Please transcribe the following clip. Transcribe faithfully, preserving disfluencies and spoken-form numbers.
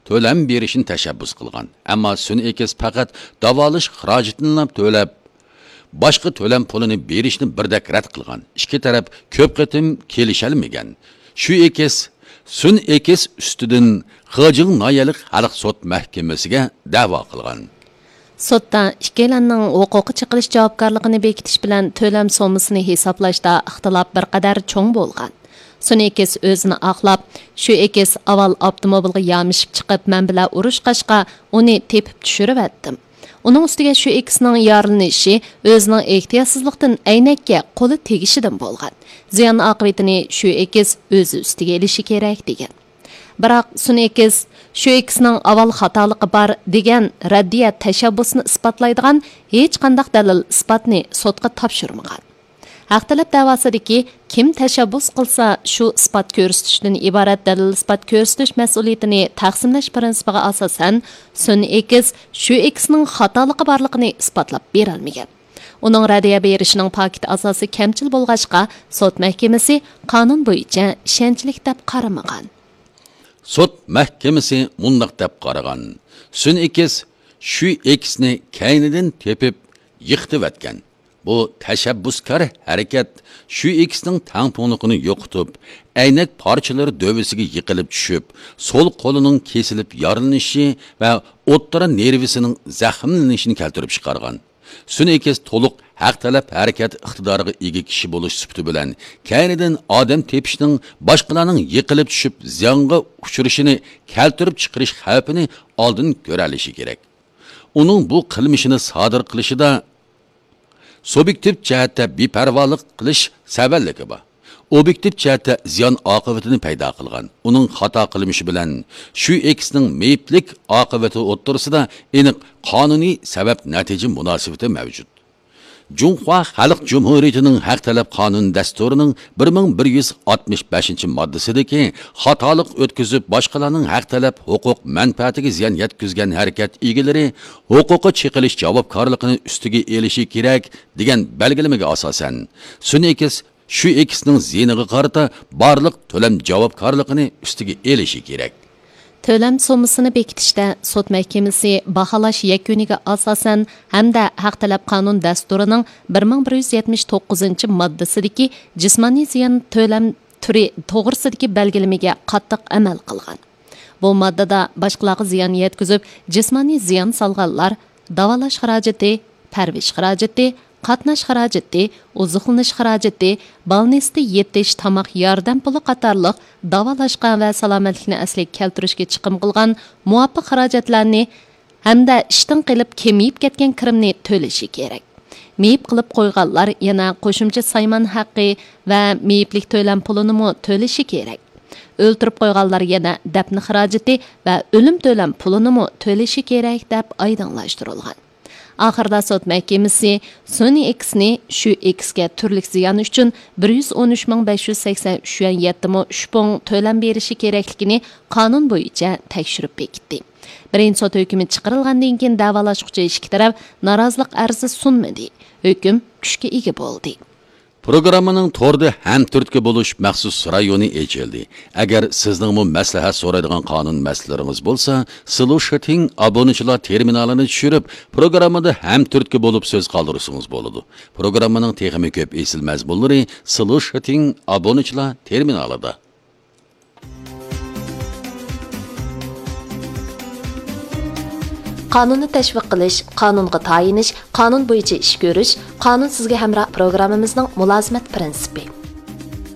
تۆلەم بېرىشنى تەشەببۇس قىلغان. ئەمما سۈن ئېكىس پەقەت داۋالاش خىراجىتىنىلا تۆلەپ، باشقا تۆلەم پۇلىنى بېرىشنى بىردەك رەت قىلغان. ئىككى تەرەپ كۆپ قېتىم كېلىشەلمىگەن. شۈ ئېكىس سۈن ئېكىس ئۈستىدىن خېجىڭ ناھىيەلىك خەلق سوت مەھكىمىسىگە دەۋا قىلغان. سوتتا ئىككىيلەننىڭ ھوقۇققا چېقىلىش جاۋابكارلىقىنى بېكىتىش بىلەن تۆلەم سوممىسىنى ھېسابلاشتا ئىختىلاپ بىر قەدەر چوڭ بولغان. سۈن ئېكىس ئۆزىنى ئاقلاپ، شۈ ئېكىس ئاۋۋال ئاپتوموبىلغا يامىشىپ چىقىپ، مەن بىلەن ئۇرۇشقاچقا، ئۇنى تېپىپ چۈشۈرۈۋەتتىم. ئۇنىڭ ئۈستىگە شۈ ئېكىسنىڭ يارىلىنىشى ئۆزىنىڭ ئېھتىياتسىزلىقتىن ئەينەككە قولى تېگىشىدىن بولغان. زىيان ئاقىۋىتىنى شۈ ئېكىس ئۆزى ئۈستىگە ئېلىشى كېرەك، دېگەن. بىراق سۈن ئېكىس شۈ ئېكىسنىڭ ئاۋۋال خاتالىقى بار دېگەن رەددىيە تەشەببۇسىنى ئىسپاتلايدىغان ھېچقانداق دەلىل ئىسپاتنى سوتقا تاپشۇرمىغان. ھەق تەلەپ دەۋاسىدىكى كىم تەشەببۇس قىلسا، شۇ ئىسپات كۆرسىتىشتىن ئىبارەت دەلىل ئىسپات كۆرسىتىش مەسئۇلىيىتىنى تەقسىملەش پىرىنسىپىغا ئاساسەن، سۈن ئېكىس شۈ ئېكىسنىڭ خاتالىقى بارلىقىنى ئىسپاتلاپ بېرەلمىگەن. ئۇنىڭ رەددىيە بېرىشىنىڭ پاكىت ئاساسى كەمچىل بولغاچقا، سوت مەھكىمىسى قانۇن بويىچە ئىشەنچلىك دەپ قارىمىغان. سوت مەھكىمىسى مۇنداق دەپ قارىغان: سۈن ئېكىس شۈ ئېكىسنى كەينىدىن تېپىپ يىقىتىۋەتكەن. بۇ تەشەببۇسكار ھەرىكەت شۈ ئېكىسنىڭ تەڭپۇڭلۇقىنى يوقىتىپ، ئەينەك پارچىلىرى دۆۋىسىگە يىقىلىپ چۈشۈپ، سول قولىنىڭ كېسىلىپ يارىلىنىشى ۋە ئوتتۇرا نېرۋىسىنىڭ زەخىملىنىشىنى كەلتۈرۈپ چىقارغان. سۈن ئېكىس تولۇق ھەق تەلەپ ھەرىكەت ئىقتىدارىغا ئىگە كىشى بولۇش سۈپىتى بىلەن، كەينىدىن ئادەم تېپىشنىڭ باشقىلارنىڭ يىقىلىپ چۈشۈپ زىيانغا ئۇچرىشىنى كەلتۈرۈپ چىقىرىش خەۋپىنى ئالدىن كۆرەلىشى كېرەك. ئۇنىڭ بۇ قىلمىشىنى سادىر قىلىشىدا سۇبيېكتىپ جەھەتتە بىپەرۋالىق قىلىش سەۋەنلىكى بار. ئوبيېكتىپ جەھەتتە زىيان ئاقىۋىتىنى پەيدا قىلغان. ئۇنىڭ خاتا قىلمىشى بىلەن شۈ ئېكىسنىڭ مېيىپلىك ئاقىۋىتى ئوتتۇرىسىدا ئېنىق قانۇنىي سەۋەب نەتىجە مۇناسىۋىتى مەۋجۇت. جۇڭخۇا خەلق جۇمھۇرىيىتىنىڭ ھەق تەلەپ قانۇن دەستۇرىنىڭ بىر مىڭ بىر يۈز ئاتمىش بەشىنچى ماددىسىدىكى خاتالىق ئۆتكۈزۈپ، باشقىلارنىڭ ھەق تەلەپ ھوقۇق مەنپەئەتىگە زىيان يەتكۈزگەن ھەرىكەت ئىگىلىرى ھوقۇققا چېقىلىش جاۋابكارلىقىنى ئۈستىگە ئېلىشى كېرەك، دېگەن بەلگىلىمىگە ئاساسەن، سۈن ئېكىس شۈ ئېكىسنىڭ زىيىنىغا قارىتا بارلىق تۆلەم جاۋابكارلىقىنى ئۈستىگە ئېلىشى كېرەك. تۆلەم سوممىسىنى بېكىتىشتە سوت مەھكىمىسى باھالاش يەكۈنىگە ئاساسەن ھەمدە ھەق تەلەپ قانۇن دەستۇرىنىڭ بىر مىڭ بىر يۈز يەتمىش توققۇزىنچى ماددىسىدىكى جىسمانىي زىيان تۆلەم تۈرى توغرىسىدىكى بەلگىلىمىگە قاتتىق ئەمەل قىلغان. بۇ ماددىدا باشقىلارغا زىيان يەتكۈزۈپ، جىسمانىي زىيان سالغانلار داۋالاش خىراجىتى، پەرۋىش خىراجىتى، قاتناش خىراجىتى، ئوزۇقلىنىش خىراجىتى، بالنىستتا يېتىش، تاماق ياردەم پۇلى قاتارلىق داۋالاشقا ۋە سالامەتلىكنى ئەسلىگە كەلتۈرۈشكە چىقىم قىلغان مۇۋاپىق خىراجەتلەرنى ھەمدە ئىشتىن قېلىپ كېمىيىپ كەتكەن كىرىمنى تۆلىشى كېرەك. مېيىپ قىلىپ قويغانلار يەنە قوشۇمچە سايمان ھەققى ۋە مېيىپلىك تۆلەم پۇلىنىمۇ تۆلىشى كېرەك. ئۆلتۈرۈپ قويغانلار يەنە دەپنە خىراجىتى ۋە ئۆلۈم تۆلەم پۇلىنىمۇ تۆلىشى كېرەك، دەپ ئايدىڭلاشتۇرۇلغان. ئاخىرىدا سوت مەھكىمىسى سۈن ئېكىسنى شۈ ئېكىسكە تۈرلۈك زىيان ئۈچۈن بىر يۈز ئون ئۈچ مىڭ بەش يۈز سەكسەن ئۈچ يۈەن يەتتە مو ئۈچ پۇڭ تۆلەم بېرىشى كېرەكلىكىنى قانۇن بويىچە تەكشۈرۈپ بېكىتتى. بىرىنچى سوت ھۆكمى چىقىرىلغاندىن كېيىن دەۋالاشقۇچى ئىككى تەرەپ نارازىلىق ئەرزى سۇنمىدى. ھۆكۈم كۈچكە ئىگە بولدى. پروگراممىنىڭ توردا ھەمتۈرتكە بولۇش مەخسۇس رايونى ئېچىلدى. ئەگەر سىزنىڭمۇ مەسلىھەت سورايدىغان قانۇن مەسىلىلىرىڭىز بولسا، سلوشىتىڭ ئابۇنىچىلار تېرمىنالىنى چۈشۈرۈپ، پروگراممىدا ھەمتۈرتكە بولۇپ سۆز قالدۇرسىڭىز بولىدۇ. پروگراممىنىڭ تېخىمۇ كۆپ ئېسىل مەزمۇنلىرى سلوشىتىڭ ئابۇنىچىلار تېرمىنالىدا. قانۇننى تەشۋىق قىلىش، قانۇنغا تايىنىش، قانۇن بويىچە ئىش كۆرۈش، قانۇن سىزگە ھەمراھ پروگراممىمىزنىڭ مۇلازىمەت پىرىنسىپى.